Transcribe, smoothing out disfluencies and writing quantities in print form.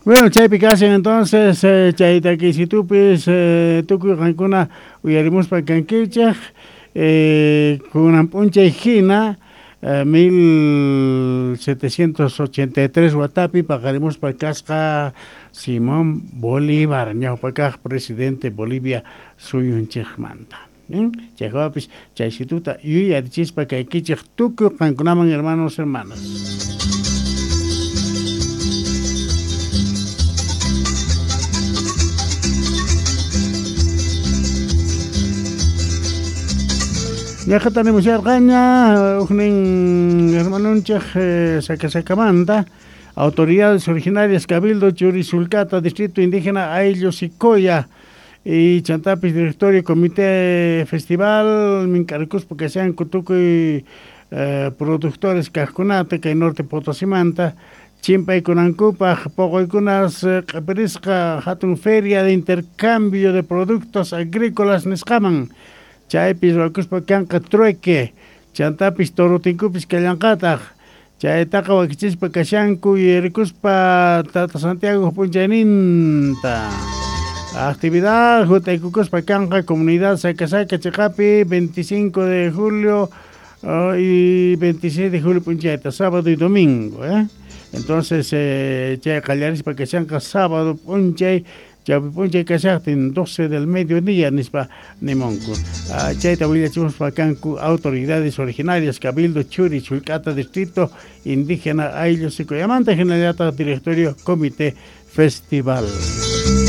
Bueno, chaypi kashan entonces chay takiysitupis tukuy qankuna uyarimuspa kankichej kunan p'unchay hina 1783 watapi paqarimuspa kasqa Simón Bolívar ñawpa kaq presidente Bolivia suyunchikmanta. Chaypapis chaysituta yuyarichispa kaykichej tukuy qankunaman hermanos hermanas. Ñaqata nimusharqaña ujnin hermanunchej Sacasakamanta autoridades originarias Cabildo Churisulcata Distrito Indígena Ayllu Sicoya y chantapis Directorio Comité Festival mink'arikuspa kashanku tukuy productores kajkunata kay Norte Potosimanta chimpaykunankupaj poqoykunas q'ipirisqa hatun feria de intercambio de productos agrícolas nisqaman chaypi ruwakuspa kanqa trueque chantapis torotinkupis kallanqataq chaytaqa wakichispa kashanku yuyarikuspa Tata Santiago p'unchayninta. Actividad jut'aykukuspa kanqa comunidad Sacasaca chiqapi 25 de julio y 26 de julio p'unchayta sábado y domingo. Entonces chay qallarispa kashanqa sábado p'unchay chawpi p'unchay kashaqtin 12 del mediodía nispa nimunku. Chayta willachimuspa kanku autoridades originarias Cabildo Churi Chulcata Distrito Indígena Ayllu Sicoyamanta hinallataq Directorio Comité Festival.